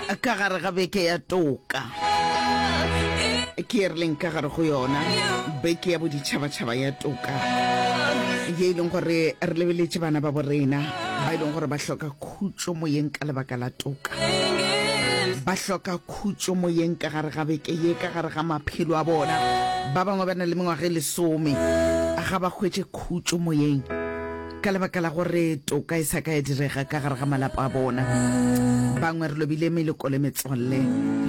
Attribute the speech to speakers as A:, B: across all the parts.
A: Ka gare ga beke ya toka ke e re leng ka gare go yona, beke ya boditšhabatšhaba ya toka, ye e leng gore re lebeletše bana ba borena ba e leng gore ba hloka khutšo moyeng ka lebaka la toka. Ba hloka khutšo moyeng ka gare ga beke ye, ka gare ga maphelo a bona. Ba bangwe ba na le mengwaga e lesome ga ba hwetše khutšo moyeng ka lebaka la gore toka e sa ka ya direga ka gare ga malapa a bona. Bangwe re lobile meloko le metswalle,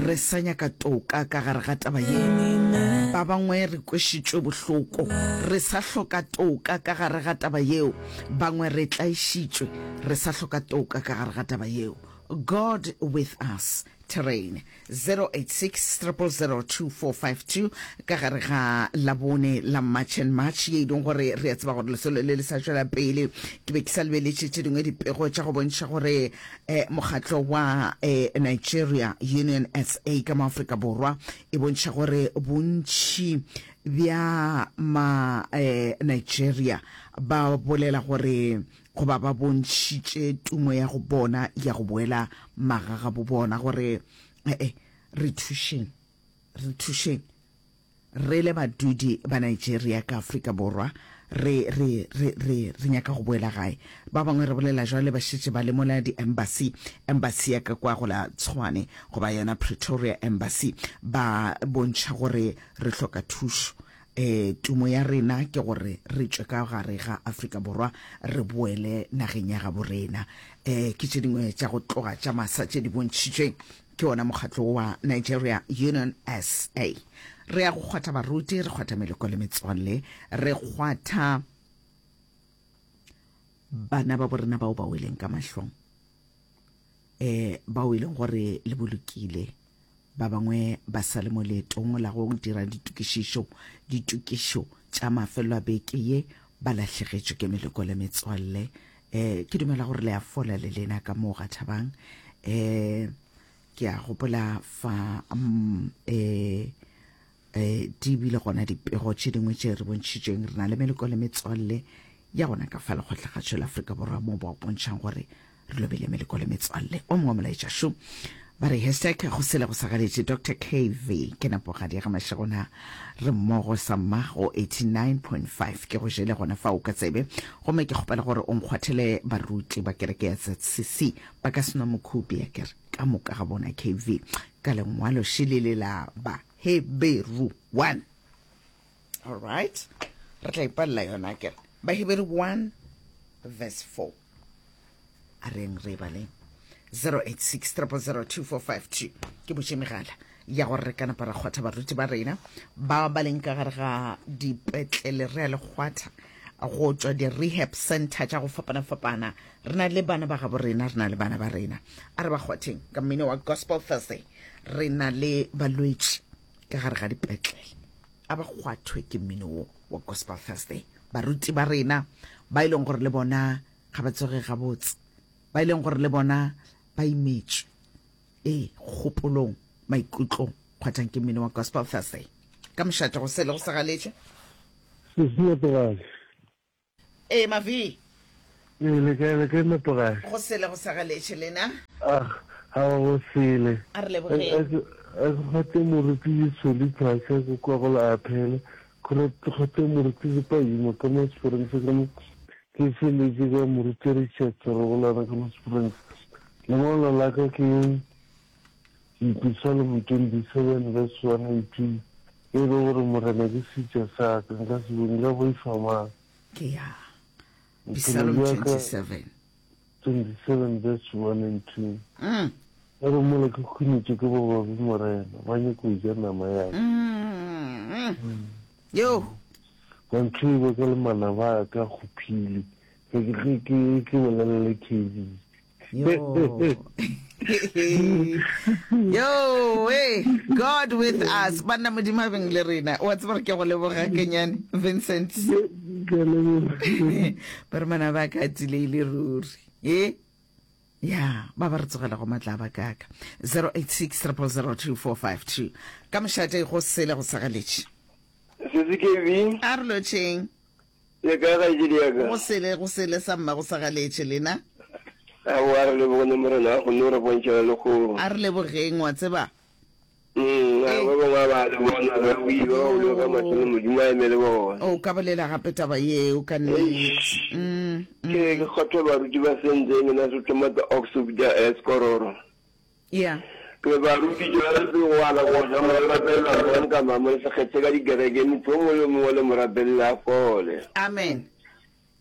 A: re sa nyaka toka ka gare ga taba ye. Ba bangwe re kwešitšwe bohloko, re sa hloka toka ka gare ga taba yeo. Bangwe re tlaišitšwe, re sa hloka toka ka gare ga taba yeo. God with us terrain 086 000 2452 ka gare ga Labone la March and March ye e leng gore re a tseba gore lesolo le le sa tšwela pele. Ke be ke sa lebeletše tše dingwe dipego tša go bontšha gore eh, mokgatlo wa eh, Nigeria Union SA ka mo Afrika Borwa e bontšha gore bontši bja ma eh, Nigeria ba bolela gore goba ba bontšhitše tumo ya go bona ya go boela magagabo bona gore ee re thušeng, re thušeng re le badudi ba Nigeria ka Afrika Borwa, re, re, re, re, re nyaka go boela gae. Ba bangwe re bolela jwale ba šetše ba le mola di-embassy, embassy ya ka kwa go la Tshwane goba yona Pretoria embassy, ba bontšha gore re hloka thušo. E, tumo ya rena ke gore re tšwe ka gare ga Afrika Borwa re boele nageng ya gabo rena. E, ke tše dingwe tša go tloga tša masa tše di bontšhitšweng ke wona mokgatlo wa Nigeria Union SA. Re ya go kgwatha baruti, re kgwatha meloko le metswalle, re kgwatha bana ba borena bao ba weleng ka mahlong, e, bao e leng gore le bolokile. Ba bangwe ba sa le mo leetong la go dira ditokišišo, ditokišo tša mafelelo a beke ye, ba lahlegetšwe ke meloko le metswalle. Um ke dumela gore le a fola le lena ka moo ga Thabang. Um ke a gopola fa um di bile gona dipego tše dingwe tše re bontšhitšweng re na le meloko le metswalle ya gona ka fa lekgotlakgatšo la Afrika Borwa mo ba bontšhang gore re lobile meleko le metswalle. O mongwe molaetša šo ba re hashtag go sele go sa galetše Dr KV ke napogadi ga mašegona re mmogo sa mma go 89.5 ke go jele gona fa o ka tsebe gomme ke kgopela gore o nkgwathele baruti ba kereke ya ZCC ba ka senwa mokhupi ya kere ka moka ga bona KV ka lengwalo šilele la ba Heberu 1 all right re tla ipalela yona kere Baheberu 1 verse 4 a reng re baleng 086 0002452 ke botše megala ya gore re ka napa ra kgwatha baruti ba rena ba ba leng ka gare ga dipetlele re a le kgwatha go tšwa di-rehab center tša go fapana-fapana re na le bana ba gabo rena re na le bana ba rena a re ba kgwatheng ka mmino wa gospel thursday re na le balwetši ka gare ga dipetlele a ba kgwathwe ke mmino wo wa gospel thursday baruti ba rena ba e leng gore le bona ga ba tsoge gabotse, ba e leng gore le bona ba imetšwe, ee, kgopolong, maikutlong. Kgwathang ke mmino wa Gospel Thursday. Ka mošate go sele go sa galetše.
B: Sesi Nepogale.
A: Ee, Mavi.
B: Ee, le kae, le kae Nepogale?
A: Go sele go sa galetše, lena?
B: Ah, aowa go sele.
A: A re lebogeng.
B: A ke kgwate moruti Ditsholi Phasha ko kwa go la Aphele, Kgore kgwate moruti Sepaima ka mo Springs ka mo Ke feletše ka Moruti Richard Serogolana ka mo Springs. Lengwalo la ka ke Dipisalmo 27 verse 1 and 2 e re gore Morena ke seetša sa ka, nka se bo, nka boifa mang?
A: Ke ya Bophelo Pisalom
B: bja ka
A: 27.
B: 27 verse 1 and 2
A: Mm.
B: E re mola ke khunetšwe ke bobabe Morena, ba nyako ja nama ya ka.
A: Mm. Yo.
B: Ba ntlhoile ka le manaba a ka kgophile, ge ke ge ke ke bolela le KB.
A: Yo. Yo, hey, God with us. Banna Modimo a beng le rena. Wa tseba gore ke go leboga kenyane, Vincent.
B: Ke a leboga.
A: Ba re manaba a ka a tileile ruri. E? Ya, ba ba re tsogela go matla a bakaka. 086 000 2452. Ka mošate go sele go sagaletše.
C: Sesi KB.
A: A re lotšheng.
C: Le kae kgaetšedi ya ka?
A: Go sele, go sele sa mma go sagaletše lena.
C: Aowa, a re lebogeng Morena a kgonne go re bontšha le lehono.
A: A re lebogeng, wa tseba.
C: Mm, a ba bangwe a ba le bona, ba wile, ba wile ka mahlo le Modimo a eme le bona.
A: O ka bolela gape taba yeo ka nnete. Mm, mm.
C: Ke ke kgothe baruti ba sentse ngena se thoma the ox da eskororo.
A: Yeah.
C: Ke baruti tšwela pele go ala go ja mo rapelela mang ka mang mo le se kgethe ka dikereke motho o mongwe le o mongwe le mo rapelele a fole.
A: Amen.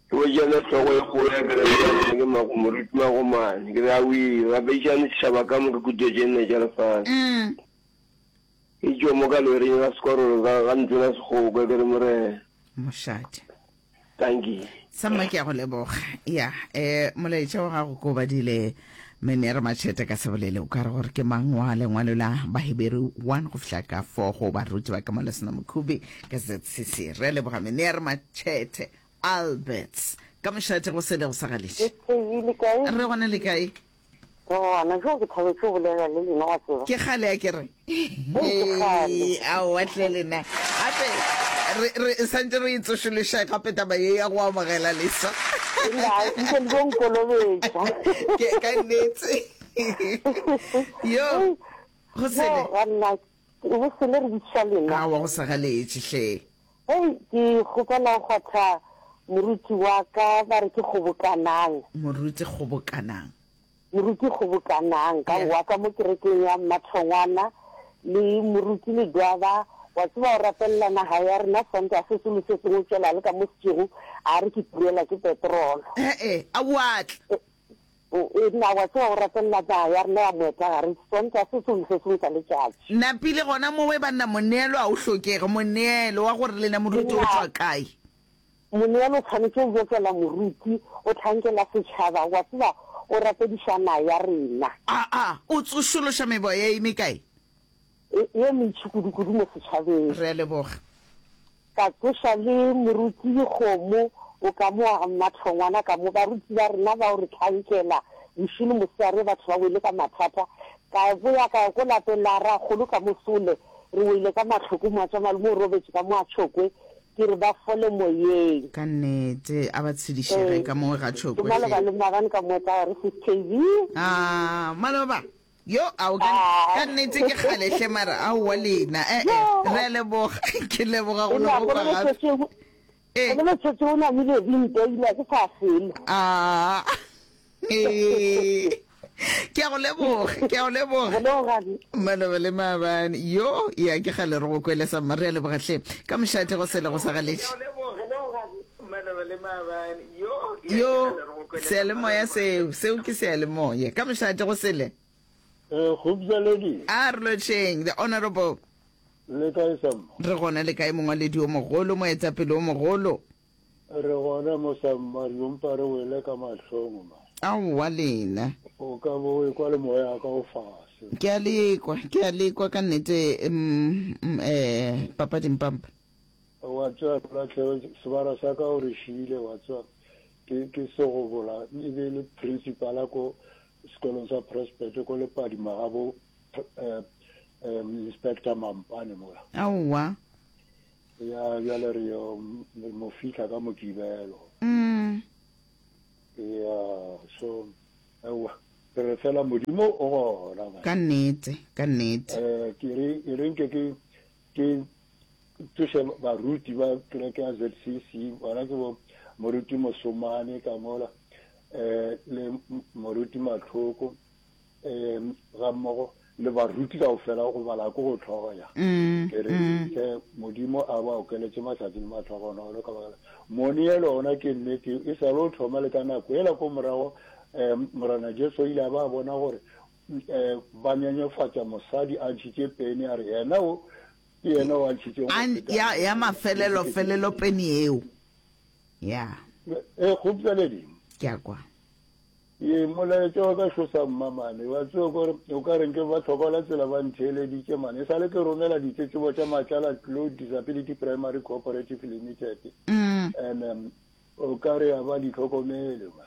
C: Ke botšane hlogo e kgolo ya kereke ya rena ke Mago Moruti Magomane ke re awii rapedišane setšhaba ka moka kutlo tše nne tša lefase. Ke tšo mo ka loring ga sekorolo ga ga ntona Sekgokwe ke re Morena.
A: Mošate.
C: Dankie.
A: Samma ke a go leboga. Ya, eh molaetša wa gago ko badile Menere Machete ka sebolele o ka re gore ke mang wa lengwalo la Baheberu 1 go fihla ka 4 go baruti ba ka mo Lesena Mokhubi ka ZCC. Re a leboga Menere Machete Alberts ka mošate go sele go sa galetše. Re gona le kae?
D: Re gona. Jo ke thabetše go bolela le lena wa tseba.
A: Ke kgale a ke re. Aowa hle lena. Gape re re santse re itsošološa gape taba ye ya go amogela leswa.
D: Nna nke le bo nkolobetša.
A: Ke ka nnete. Yo go sele.
D: Banna go sele re bitša lena.
A: Aowa go sa galetše hle.
D: Hei ke kgopela go kgwatha moruti wa ka ba re ke Kgobokanang.
A: Moruti Kgobokanang.
D: Moruti Kgobokanang ka wa ka mo kerekeng ya Mmathongwana le moruti Ledwaba wa tseba o rapelela naga ya rena Sontaga se sengwe le se sengwe o tšwela le ka mo setšego a re ke turela ke petrolo.
A: He-e, a wa tla.
D: O na wa tseba o rapelela naga ya rena ya moetagare Sontaga se sengwe le se sengwe sa letšatši.
A: Napile gona mowe banna moneelo a o hlokege, moneelo wa gore lena moruti o tšwa kae?
D: Moneelo o tshwanetše o bokela moruti, o hlankela setšhaba, wa tseba o rapediša naga ya rena.
A: Aa, o tsošološa meboya e mekae?
D: Ye mentši kudu-kudu mo setšhabeng.
A: Re a leboga.
D: Ka tsoša le moruti Dikgomo, o ka mo wa Mmathongwana ka mo, baruti ba rena bao re hlankela bošego le mosegare, batho ba wele ka mathata. Ka boya ka ya ko lapeng la rakgolo ka mo Sole, re wele ka mahloko, moatšamalome o robetše ka mo a Tšhokwe, ke re ba fole moyeng.
A: Ka nnete, a ba tshedišege ka mo ga Tšhokwe
D: hle. Ke maloba le maabane ka mo tla re sis KB.
A: Ah, maloba. Yo, ao, ka, ka nnete ke kgale hle mara aowa lena. Eh, eh, re a leboga. Ke leboga go no go kwa gape.
D: Eh. Go le tshetse o namile dinte ile ke sa felo.
A: Ah. Eh. Ke a go leboga, ke a go leboga. Maloba le maabane. Yo, ya ke kgale re go kwele sa mma re a leboga hle. Ka mošate go sele go sa galetše. Yo, seyalemoya seo, seo ke seyalemoya. Ka mošate go sele.
B: Eh, Gubjaledi.
A: A re lotšheng, the honorable.
B: Le kae Samma?
A: Re gona le kae mongwaledi o mogolo, moetapele o mogolo?
B: Re gona mo Samma, re yompa re wele ka mahlong ma.
A: Aowa lena.
B: O ka bo o ekwa le moya wa ka o fase.
A: Ke a lekwa, ke a lekwa ka nnete, mm, mm, eh, Papa Dimpampa.
B: Wa tseba Molatlhego, sebara sa ka o re šiile, wa tseba, ke, ke segobola, e be e le principala ko sekolong sa Prospect ko Lepadima ga bo eh, eh, Inspector Mampane mola.
A: Aowa.
B: Ya, bjale re yo mo fihla ka Mokibelo.
A: Mm.
B: Ya, so, aowa, re re fela Modimo o gona. man.
A: Ka nnete, ka nnete.
B: Eh, ke re, e re nke ke, ke tsoše baruti ba kereke ya ZCC, bona ke bo moruti Mosomane ka mola, um le moruti Matlhoko, um ga mmogo le baruti kaofela go bala ko go tlhoya.
A: Mm,
B: Ke re
A: mm.
B: hle Modimo a ba okeletše mahlatse le matlhogonolo ka baka la moneelo ona ke nnete e sa le o thoma le ka nako ela ko morago um Morena Jesu o ile a ba bona gore um ba nyenyefatša mosadi a ntšhitše peni a re yena o ke yena o a ntšhitšeng go
A: A,
B: feta
A: ya, ya mafelelo felelo peni eo. Ya.
B: E kgopjaledi.
A: Ke a kwa.
B: Ye molaetša wa ka šosa mmamane wa tseba kore o ka reng ke ba tlhokola tsela ba ntheeleditše mane e sale ke romela ditletlebo tša Matlala Tlou Disability Primary Cooperative Limited
A: mm.
B: and um, o ka re a ba di tlhokomele ma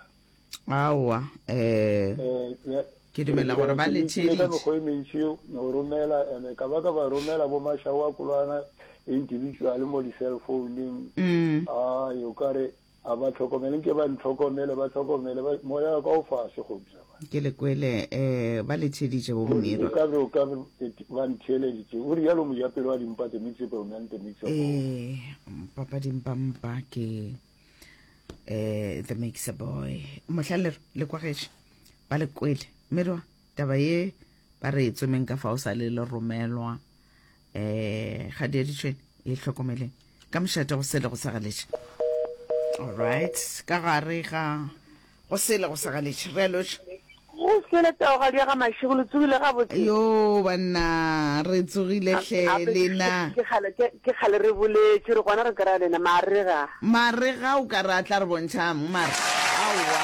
A: Aowa, eh,
B: Eh,
A: ke dumela gore ba le
B: ka
A: theeditše.
B: mekgwa e mentši go romela and ka ba ka ba romela bo mašao a kolwana individual mo di-cell founeng
A: Mm.
B: ai o ka re
E: A ba hlokomele, nke ba ntlhokomele, ba hlokomele, ba, moya wa ka o fase, Kgopša.
A: Ke le kwele, eh, ba le theeditše bo Mmirwa.
E: O ka be, o ka be ba ntheeleditše. O rialo mojapelo wa dimpa, the mixable man, the mixable.
A: Eh, papa dimpampa ke eh the mixer boy. Mohla le le kwagetše, ba le kwele. Mmirwa, taba ye ba re e tsomeng ka fa o sa le le romelwa. Eh, ga di editšwe, e hlokomeleng. Ka mošate go sele go sa galetše. All right, ka gare ga go sele go sa galetše. Re a lotša.
F: Go sele taogadi ya ga Mašego, le tsogile gabotse?
A: Yo banna, re tsogile hle lena.
F: Ke kgale ke kgale re boletše re gona re kry-a lena marega.
A: Marega o ka re a tla re bontšhang mara aowa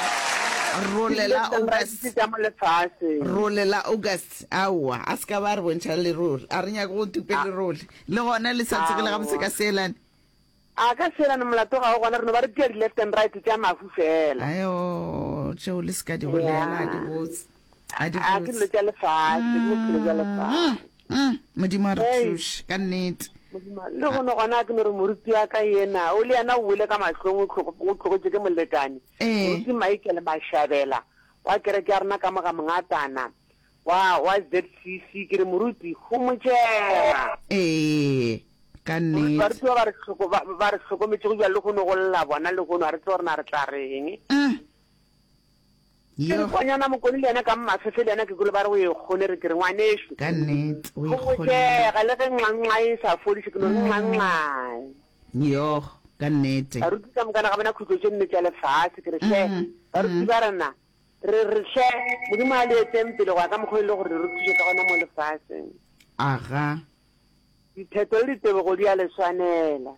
A: rolela August.
F: Tša mo lefaseng.
A: Rolela August aowa a se ka ba re bontšha lerole a re nyake go tupe lerole. Le gona le sa tsogile gabotse ka seelane?
F: A ka seelane molato ga o gona, re no ba re tia di-left and right tša mahu fela.
A: Ayo, tšeo le se ka di bolela, a di botse. A di
F: A ke dilo
A: botse.
F: tša lefase, ke bophelo bja lefase.
A: Mm, Modimo a re
F: Hei.
A: thuše, ka nnete.
F: Modimo, le gono gona a ke no re moruti wa ka yena, o le yena o wele ka mahlong, o tlo- o tlogetše ke molekane.
A: Ee.
F: Moruti Michael Mashabela wa kereke ya rena ka mo ga Mongatana. Wa, wa ZCC, ke re moruti, homotšega.
A: Ee, ka
F: Moruti,
A: nnete.
F: barutiwa ba re hloko, ba, ba re hlokometšego bjalo lehono go lla bona lehono, ga re tsebe gore na re tla reng.
A: Mm.
F: Ke re
A: Yo.
F: kwanyana Mokone le yena ka Mmafefe le yena ke kwele ba re o e kgone, re ke re ngwanešu,
A: Ka nnete, o e kgonne.
F: homotšega, le ge nxa-nxa e sa fodiše, ke no re nxa-nxae.
A: Yo, ka nnete.
F: Baruti ka mokana ga bona khutlo tše nne tša lefase, ke re hle,
A: Mm,
F: baruti
A: mm.
F: ba rena, Re re, Hle, Modimo a le eteng pele go ya ka mokgwa o e le gore re thuše ka gona mo lefaseng.
A: Aga.
F: Ditheto le ditebogo di a le swanela.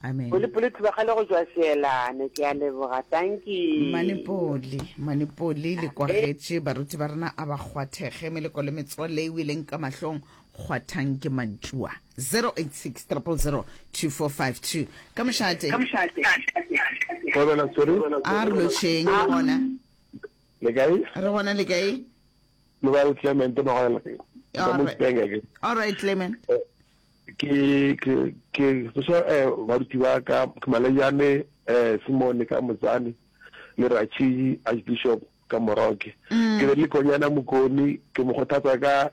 A: Amen.
F: Polepole Thubagale go tšwa Seelane. Ke a leboga. Dankie.
A: Manepoli, Manepoli le kwagetše baruti ba rena a ba kgwathege meleko le metswalle e weleng ka mahlong kgwathang ke mantšua 086 000 2452 ka mošate.
B: Thobela sorry.
A: A re lotšheng le gona.
B: Le kae?
A: Re gona le kae?
B: Le ba le Clement Magwela. Ka mo Spenge ke.
A: All right Clement.
B: Eh, ke ke ke tsoša eh baruti ba ka ke Malejane eh Simone ka Motsane le Ratšhidi Archbishop ka Moroke. Ke be le Konyana Mokoni ke mo kgothatsa ka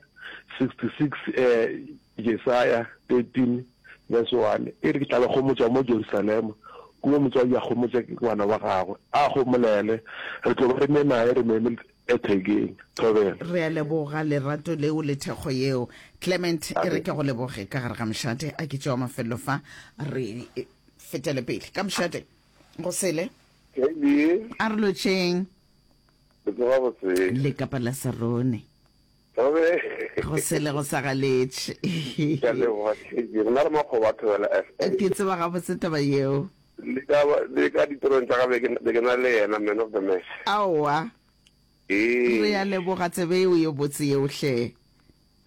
B: 66 eh Jesaya 13 verse 1 e re ke tla le gomotša mo Jerusalema, kua motswadi a gomotša ngwana wa gagwe, a gomolele, re tlo ba re ne naye re mo eme ethekeng. Thobela.
A: Re a leboga lerato leo le thekgo yeo. Clement, e re ke go leboge ka gare ga mošate. A ke tšewa mafelelo fa re fetele pele. Ka mošate, go sele.
G: KB.
A: A re lotšheng.
G: Le tsoga botse.
A: Le kapa la Sarone.
G: Thobe.
A: Go sele go sa galetše.
G: Ke a leboga KB. Rena re makgoba a Thobela FM.
A: Ke tseba gabotse taba yeo.
G: Le ka le ka ditirong tša ka be ke be ke na le yena man of the match.
A: Aowa.
G: Ee.
A: Re a leboga tsebe yeo ye botse yeo hle.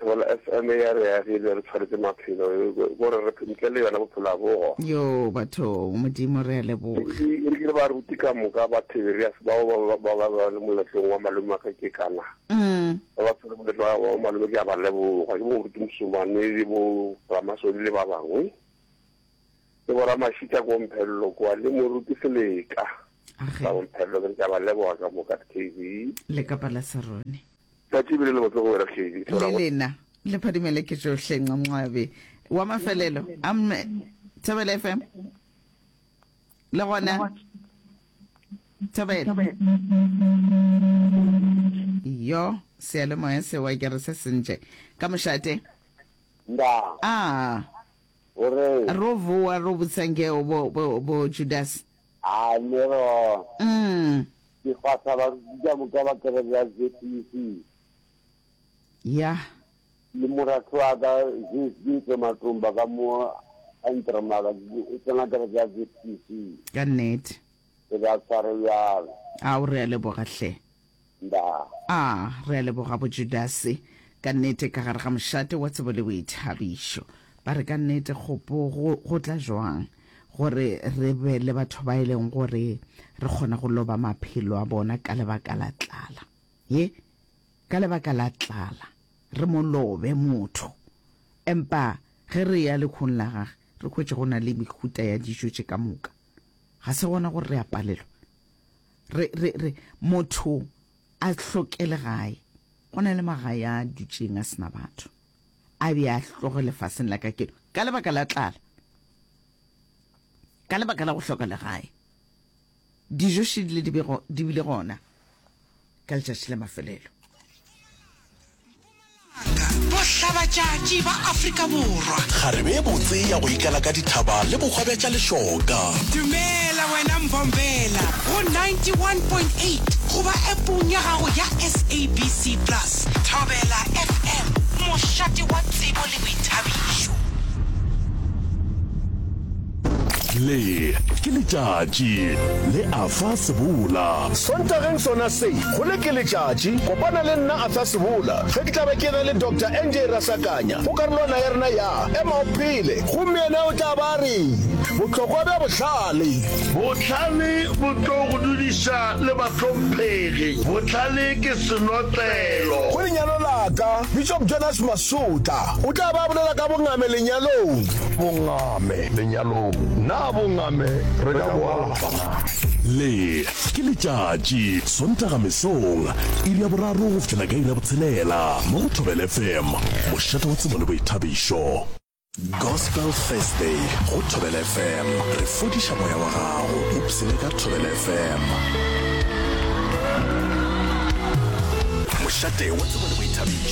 G: Thobela FM ya re agile re tshwaretse maphelo gore re ntle le yona bophelo a bogo.
A: Yo bathong Modimo re a leboga.
G: E re ke re baruti ka moka ba Tiberias bao ba ba ba ba le moletlong wa malome wa ka ke kana.
A: Mm.
G: Ba ba tshwere moletlo wa wa malome ke a ba leboga ke bo moruti Mosomane le bo Ramasodi le ba bangwe. Le bo Ramashita ko Mphello kwa le moruti Seleka.
A: Age.
G: Ba bo Mphello ke re ke a ba leboga ka moka KB.
A: Le kapa la Sarone.
G: Tšatši ebile le botse go wena Kedi.
A: Le lena le phadimele ke tšohle Nqamnqabe. Wa mafelelo amme Thobela FM. Le gona Thobela. Yo seyalemoya sewa ke re se sentše ka mošate.
H: Nda.
A: Ah.
H: O re.
A: Ro voa ro botsa ngeo bo bo bo Judas.
H: A ne ro.
A: Mm.
H: Ke fahla baruti ka moka ba kereke ya ZCC.
A: Ya.
H: Le moratho wa ka ZSB Matumba ka mo Entremaka o tsena kereke ya ZCC.
A: Ka nnete.
H: Ke ba tshware bjalo.
A: Ao re a leboga hle.
H: Nda.
A: A re a leboga bo Judase ka nnete ka gare ga mošate wa tsebo le boithabišo. Ba re ka nnete kgopo go, go tla jwang gore re be le batho ba e leng gore re kgona go loba maphelo a bona ka lebaka la tlala. Ye, ka lebaka la tlala re mo lobe motho. Empa ge re ya lekhong la gage re hwetše go na le mehuta ya dijo tše ka moka. Ga se gona gore re a palelwa. Re, re, re, motho a hloke legae. Go na le magae a dutšeng a sena batho. A be a hloge lefaseng la kakeno ka lebaka la tlala, ka lebaka la go hloka legae. Dijo šedile di bego di bile gona ka letšatši la mafelelo.
I: Bohlabatšatši ba Afrika Borwa.
J: Kgarebe e botse ya go ikala ka dithaba le bohwa bja tša lešoka.
I: Dumela wena Mbombela go 91.8 goba appong ya gago ya SABC Plus. Thobela FM, mošate wa tsebo le boithabišo.
J: Le ke letšatši le Arthur Sebola.
K: Sontageng sona se, go le ke letšatši, kopana le nna Arthur Sebola ge ke tla be ke ena le Doctor NJ Rasakanya go karolwana ya rena ya Ema o Phele gomme yena o tla ba a re, Bohlokwa bja bohlale.
L: Bohlale bo tlo go dudiša le bahlomphegi. Bohlale ke senotlelo.
K: Go lenyalo la ka, Bishop Jonas Masotla o tla ba a bolela ka bongame lenyalong.
L: Bongame lenyalong, na bongame re ka bo alafa na?
J: Le ke letšatši, Sontaga mesong, iri ya boraro go fihlela ka iri ya botshelela, mo go Thobela FM, mošate wa tsebo le boithabišo. Gospel Thursday go Thobela FM, re fodiša moya wa gago, ipshine ka Thobela FM. Mošate wa tsebo le boithabišo.